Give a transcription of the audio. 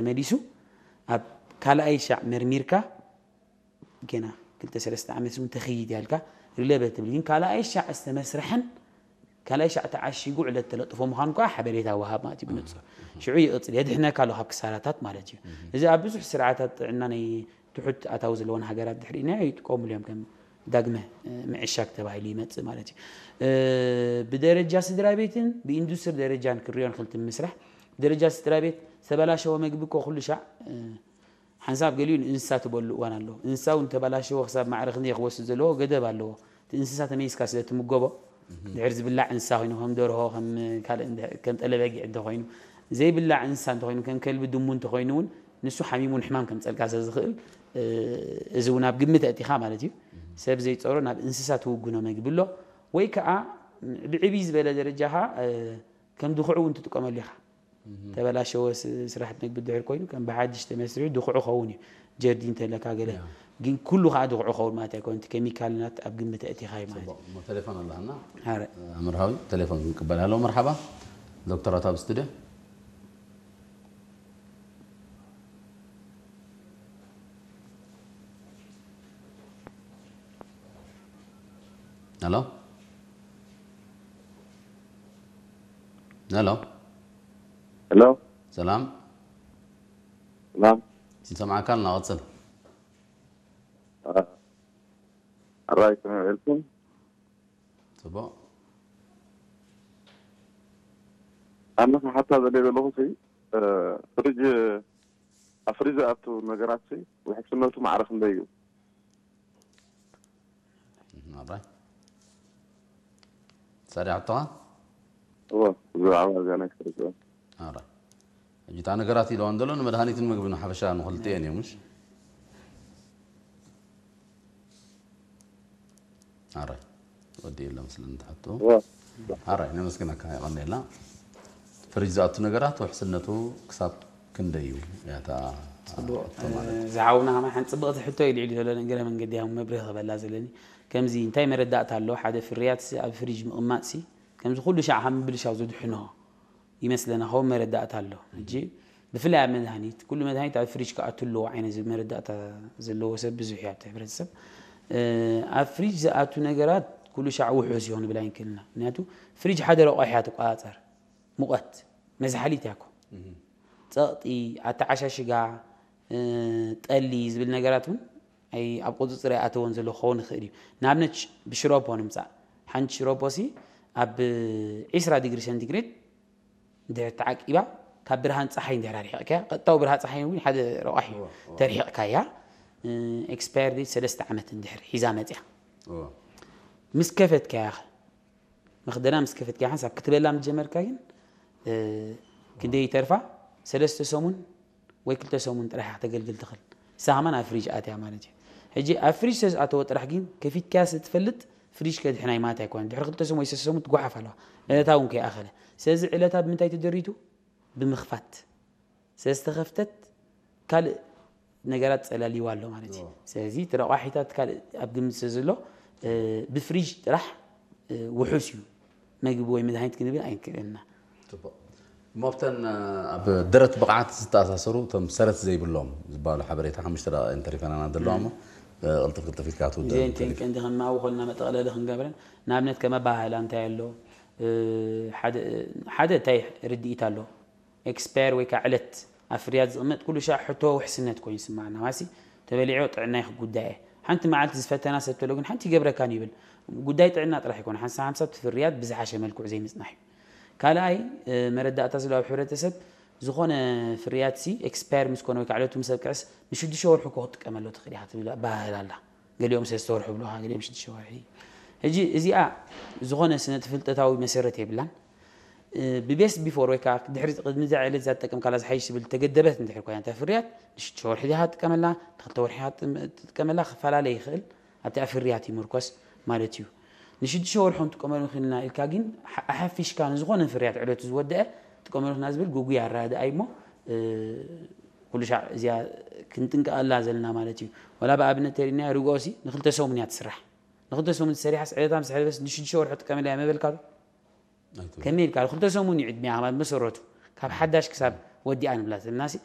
ተመሊሱ ኣብ ካልኣይ ሻዕ መርሚርካ ገና ክልተ ሰለስተ ዓመት እውን ተኸይድ ያልካ ሪለበ ትብል ግን ካልኣይ ሻዕ ዝተመስርሐን ካልኣይ ሻዕ ተዓሺጉ ዕለት ተለጥፎ ምዃኑ ከዓ ሓበሬታ ወሃብ ማለት እዩ ብንፁር ሽዑ ይቕፅል የድሕነካ ኣሎ ካብ ክሳራታት ማለት እዩ እዚ ኣብ ብዙሕ ስርዓታት ጥዕና ናይ ትሑት ኣታዊ ዘለዎን ሃገራት ድሕሪና ይጥቀሙሉ እዮም ከም ዳግመ ምዕሻግ ተባሂሉ ይመፅእ ማለት እዩ ብደረጃ ስድራ ቤትን ብኢንዱስትሪ ደረጃን ክሪኦ ንክልቲ ምስራሕ ብደረጃ ስድራ ቤት ዝተበላሸወ መግቢ እኮ ኩሉ ሻዕ ሓንሳብ ገሊኡ ንእንስሳ ትበሉ እዋን ኣለዎ። እንስሳ እውን ተበላሸዎ ክሳብ ማዕረ ክንደይ ክወስድ ዘለዎ ገደብ ኣለዎ። እቲ እንስሳ ተመይስካ ስለ ትምገቦ ድሕር ዝብላዕ እንስሳ ኮይኑ ከም ደርሆ ከም ካልእ እንደ- ከም ጠለበጊዕ እንተኮይኑ ዘይብላዕ እንስሳ እንተኮይኑ ከም ከልቢ ድሙ እንተኮይኑ እውን ንሱ ሓሚሙ ንሕማም ከምፀልካ ስለ ዝኽእል እ፣ እዚ እውን ኣብ ግምት ኣእቲኻ ማለት እዩ። ሰብ ዘይፀሮ ናብ እንስሳ ትውግኖ መግቢ ኣሎ ወይ ከዓ ብዕብይ ዝበለ ደረጃኻ እ፣ ከም ድኹዑ እውን ትጥቀመሉ ኢኻ። ተበላሸወ ስ- ስራሕቲ መግቢ ድሕር ኮይኑ ከም ብሓድሽ ተመስሪሑ ድኹዑ ኸውን እዩ ጀርዲን ተለካ ገለ ግን ኩሉ ከዓ ድኹዑ ኸውን ማለት ኣይኮነ እቲ ኬሚካልናት ኣብ ግምት ኣእቲኻ እዩ ማለት እዩ እሞ ቴሌፎን ኣለና ኣምርሃዊ ቴሌፎን ክንቅበል ኣሎ መርሓባ ዶክተራት ኣብ ስቱድዮ ኣሎ ኣሎ ሄሎ ሰላም ሰላም ንሰምዓካ ኣለና ቀፅል ኣራይ ከመይ ውዒልኩም ፅቡቕ ኣነ ክሓታ ዘለ ዘለኹ ሲ ፍሪጅ ኣብ ፍሪጅ ዝኣቱ ነገራት ሲ ውሕስነቱ ማዕረ ክንደይ እዩ ኣራይ ሳዲ ሓቶኻ እዎ ብዛዕባ እዚኣ ናይ ክርዝኦ ኣራይ ሕጂ እታ ነገራት ኢለዋ እንዘሎ ንመድሃኒትን ምግብን ሓፈሻ ንክልቲኤን እዮም ምሽ ኣራይ ወዲ የለ መስለኒ ትሓቶ እዎ ኣራይ ነመስግነካ የቐንየልና ፍሪጅ ዝኣቱ ነገራት ውሕስነቱ ክሳብ ክንደይ እዩ እያታ ዝሓውና ከማ ሓንቲ ፅብቕቲ ሕቶ ኢሉ ኢሉ ዘሎ ንእግረ መንገዲ ያው መብርህ ክበላ ዘለኒ ከምዚ እንታይ መረዳእታ ኣሎ ሓደ ፍርያት ኣብ ፍሪጅ ምቕማጥ ሲ ከምዚ ኩሉ ሻዕ ካብ ምብልሻው ዝድሕኖ ይመስለና ከምኡ መረዳእታ ኣሎ ሕጂ ብፍላይ ኣብ መድሃኒት ኩሉ መድሃኒት ኣብ ፍሪጅ ክኣቱ ኣለዎ ዓይነት ዝብል መረዳእታ ዘለዎ ሰብ ብዙሕ እዩ ኣብቲ ሕብረተሰብ ኣብ ፍሪጅ ዝኣቱ ነገራት ኩሉ ሻዕ ውሑስ ይኾን ብል ኣይንክልና ምክንያቱ ፍሪጅ ሓደ ረቋሕ እያ ትቆፃፀር ሙቐት መዝሓሊት እያ እኮ ፀቕጢ ኣተዓሻሽጋ ጠሊ ዝብል ነገራት እውን ኣብ ቁፅፅር ኣይኣተወን ዘሎ ክኸውን ይኽእል እዩ ንኣብነት ብሽሮፖ ንምፃእ ሓንቲ ሽሮፖ ሲ ኣብ 20 ዲግሪ ሰንቲግሬድ እንድሕር ተዓቂባ ካብ ብርሃን ፀሓይ እንድሕር ኣርሒቕካያ ቀጥታዊ ብርሃን ፀሓይ እውን ሓደ ረቋሒ ተርሒቕካያ ኤክስፓየር ዴት ሰለስተ ዓመት እንድሕር ሒዛ መፅያ ምስ ከፈትካያ መኽደና ምስ ከፈትካያ ሓንሳብ ክትበላ ምስ ጀመርካ ግን ክንደይ ይተርፋ ሰለስተ ሰሙን ወይ ክልተ ሰሙን ጥራሕ እያ ከተገልግል ትኽእል ንሳ ከማን ኣብ ፍሪጅ ኣትያ ማለት እዩ ሕጂ ኣብ ፍሪጅ ተዝኣተወ ጥራሕ ግን ከፊትካያ ስለ ትፈልጥ ፍሪጅ ከድሕና ማለት ኣይኮነን ድሕሪ ክልተ ሰሙን ወይ ሰለስተ ሰሙን ትጓሓፍ ኣለዋ ዕለታ እውን ከይኣኸለ ስለዚ ዕለታ ብምንታይ ተደሪቱ ብምኽፋት ስለዝተኸፍተት ካልእ ነገራት ፀላሊዋ ኣሎ ማለት እዩ ስለዚ እቲ ረቋሒታት ካልእ ኣብ ግምት ስለ ዘሎ ብፍሪጅ ጥራሕ ውሑስ እዩ መግቢ ወይ መድሃኒት ክንብል ኣይንክእልና እሞ ኣብተን ኣብ ደረት ብቕዓት ዝተኣሳሰሩ እቶም ሰረት ዘይብሎም ዝበሃሉ ሓበሬታ ሓሙሽተ ደቂቕ እንተሪፈናና ዘለዋ እሞ ቅልጥፍ ቅልጥፍ ኢልካ ትውደእ ዜንቴን ቀንዲ ከማዊ ኮልና መጠቕለሊ ክንገብረን ንኣብነት ከመባህላ እንታይ ኣሎ ሓደ እንታይ ርድኢት ኣሎ ኤክስፓየር ወይ ከዓ ዕለት ኣብ ፍርያት ዝቕመጥ ኩሉ ሻዕ ሕቶ ውሕስነት ኮይኑ ይስማዓና ማሲ ተበሊዖ ጥዕናይ ክጉዳየ ሓንቲ መዓልቲ ዝፈተና ሰብ ተሎ ግን ሓንቲ ይገብረካን ይብል ጉዳይ ጥዕና ጥራሕ ይኮነ ሓንሳ ሓንሳ እቲ ፍርያት ብዝሓሸ መልክዑ ዘይምፅናሕ እዩ ካልኣይ መረዳእታ ዝለዋብ ሕብረተሰብ ዝኾነ ፍርያት ሲ ኤክስፓየር ምስ ኮነ ወይ ከዓ ዕለቱ ምስ ኣብቅዕስ ንሽዱሽተ ወርሑ እኮ ክትጥቀመሎ ትኽእል ኢኻ ትብል ኣባህል ኣላ ገሊኦም ሰለስተ ወርሒ ብልኻ ገሊኦም ሽዱሽተ ወርሒ ሕጂ እዚኣ ዝኾነ ስነ ፍልጠታዊ መሰረት የብላን ብቤስት ቢፎር ወይ ከዓ ድሕሪ ቅድሚ እዛ ዕለት እዛ ትጠቀምካላ ዝሓይሽ ዝብል ተገደበት እንድሕር ኮይና እታ ፍርያት ንሽዱሽተ ወርሒ ዲኻ ትጥቀመላ ንክልተ ወርሒ ትጥቀመላ ክፈላለ ይኽእል ኣብቲ ኣብ ፍርያት ይምርኮስ ማለት እዩ ንሽዱሽተ ወርሒ ንጥቀመሉ ክልና ኢልካ ግን ኣሓፊሽካ ንዝኾነ ፍርያት ዕለቱ ዝወደአ ጥቀመሉ ክና ዝብል ጉጉይ ኣረዳድኣ እሞ ኩሉ ሻዕ እዚኣ ክንጥንቀቐላ ዘለና ማለት እዩ ወላ ብኣብነት ተሪና ርግኦ ሲ ንክልተ ሰሙን እያ ትስራሕ ንክልተ ሰሙን ትሰሪሓስ ዕለታ ምስ ሕለፈስ ንሽዱሽተ ወርሒ ጥቀመላ እያ መበልካ ዶ ከመይ ኢልካ ክልተ ሰሙን እዩ ዕድሚያ ካብ መሰረቱ ካብ ሓዳሽ ክሳብ ወዲኣ ንብላ ዘለና ሲ